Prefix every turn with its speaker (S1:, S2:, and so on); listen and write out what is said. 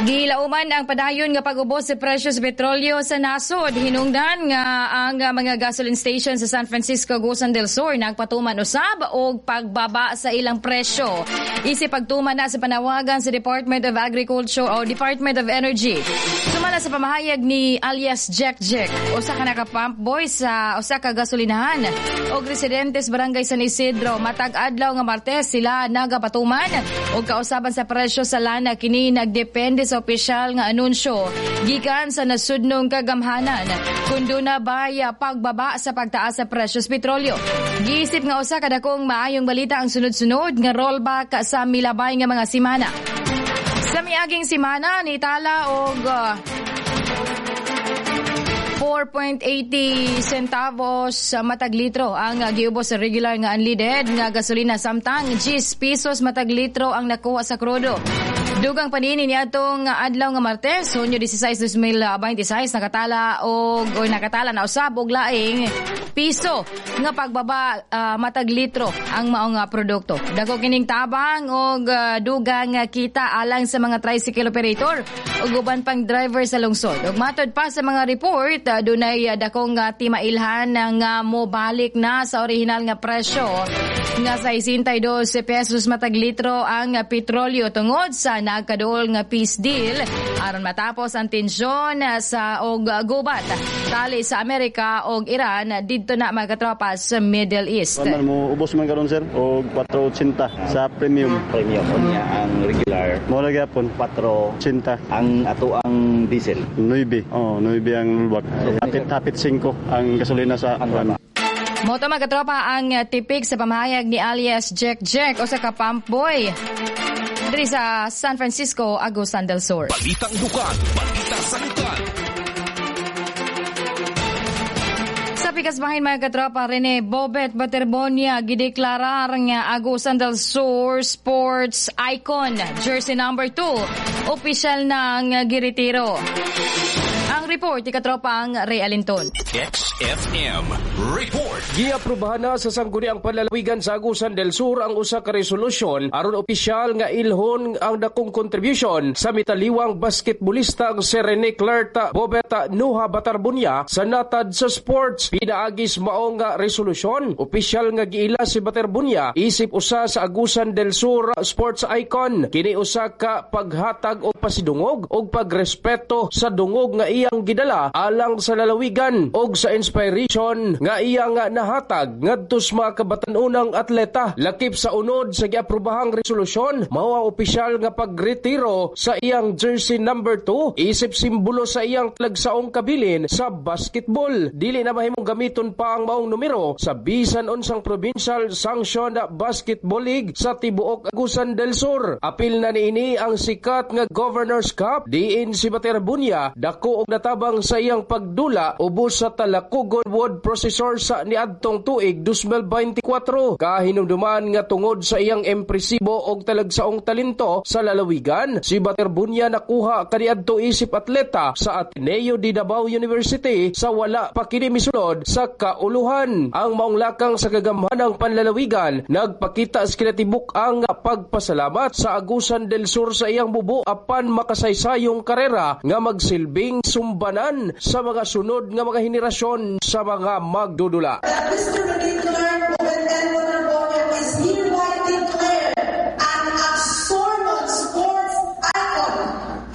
S1: Gilauman ang padayon nga pag-ubos sa presyo sa petrolyo sa nasod. Hinungdan nga ang mga gasoline station sa San Francisco, Agusan del Sur nagpatuman usab og pagbaba sa ilang presyo. Isip pagtuman na sa panawagan sa Department of Agriculture o Department of Energy. Sumala sa pamahayag ni alias Jack Jack, usa ka naka-pump boy sa usa ka gasolinahan og residente sa Barangay San Isidro, matag adlaw nga Martes sila nagapatuman og kausaban sa presyo sa lana. Kini nagdepende sa opisyal nga anunsyo gikan sa nasudnong kagamhanan kung duna bay pagbaba sa pagtaas sa presyo sa petrolyo. Giisip nga usa ka dakong maayong balita ang sunod-sunod nga rollback sa milabay nga mga simana. Sa miaging simana nitala og 4.80 centavos sa matag litro ang giubos sa regular nga unleaded nga gasolina, samtang 10 pesos matag litro ang nakuha sa krudo. Dugang panini niadtong adlaw nga Martes, Hunyo 16, 2026, nakatala og o nakatala na usab og laing piso nga pagbaba matag litro ang maong produkto. Dako kining tabang og dugang kita alang sa mga tricycle operator ug uban pang driver sa lungsod. Ug matod pa sa mga report, dunay dakong timailhan nga mobalik na sa orihinal nga presyo nga 62 pesos matag litro ang petrolyo tungod sa nagkaduol nga peace deal aron matapos ang tensyon sa og gubat tali sa Amerika og Iran didto na, mga katropa, sa Middle East.
S2: Man mo ubos man karon, sir, og 4.80 sa premium.
S3: Premium, unya ang regular?
S2: Mo ra gyapon.
S3: 4
S2: 80.
S3: Ang ato ang diesel?
S2: 9. Oh, 9 ang rollback. Hapit hapit 5 ang gasolina sa
S3: Ang
S1: Mao to, mga katropa, ang tipik sa pamahayag ni alias Jack Jack, usa ka pump boy diri sa San Francisco, Agusan del Sur.
S4: Balitang lokal, balita sa lokal.
S1: Sa pikas bahin, mga katropa, Rene Bobet Baterbonia gideklarar nga Agusan del Sur Sports Icon, jersey number 2, opisyal ng giretiro. Ang report ni katropang Ray Alinton.
S4: XFM Report.
S5: Giaprobahan na sa Sangguniang Panlalawigan sa Agusan del Sur ang usa ka resolusyon aron opisyal nga ilhon ang dakong contribution sa mitaliwang basketbolista ang si Rene Clarta Bobeta Nuha Batarbunya sa natad sa sports. Pinaagis mao nga resolusyon, opisyal nga giila si Batarbunya isip usa sa Agusan del Sur sports icon. Kini usa ka paghatag og pasidungog og pagrespeto sa dungog nga iyang gidala alang sa lalawigan og sa inspiration nga iyang nahatag ngadto sa mga kabatan-unang atleta. Lakip sa unod sa giaprobahang resolusyon, mao ang opisyal nga pagretiro sa iyang jersey number 2 isip simbolo sa iyang talagsaong kabilin sa basketball. Dili na mahimong gamiton pa ang maong numero sa bisan unsang provincial sanction basketball league sa tibuok Agusan del Sur. Apil na niini ang sikat nga Governor's Cup diin si Baterbunya dako og natabang sa iyang pagdula ubos sa Talacogon Wood Processor sa niadtong tuig 2024. Kahinumduman nga tungod sa iyang impresibo og talagsaong talento sa lalawigan, si Baterbunya nakuha kaniadto isip atleta sa Ateneo de Davao University sa wala pa kini misulod sa kauluhan. Ang maong lakang sa kagamhanang panlalawigan nagpakita sa kinatibuk ang pagpasalamat sa Agusan del Sur sa iyang bubo apan makasaysayong karera nga magsilbing sumbanan sa mga sunod nga mga henerasyon sa mga magdudula.
S6: Mr.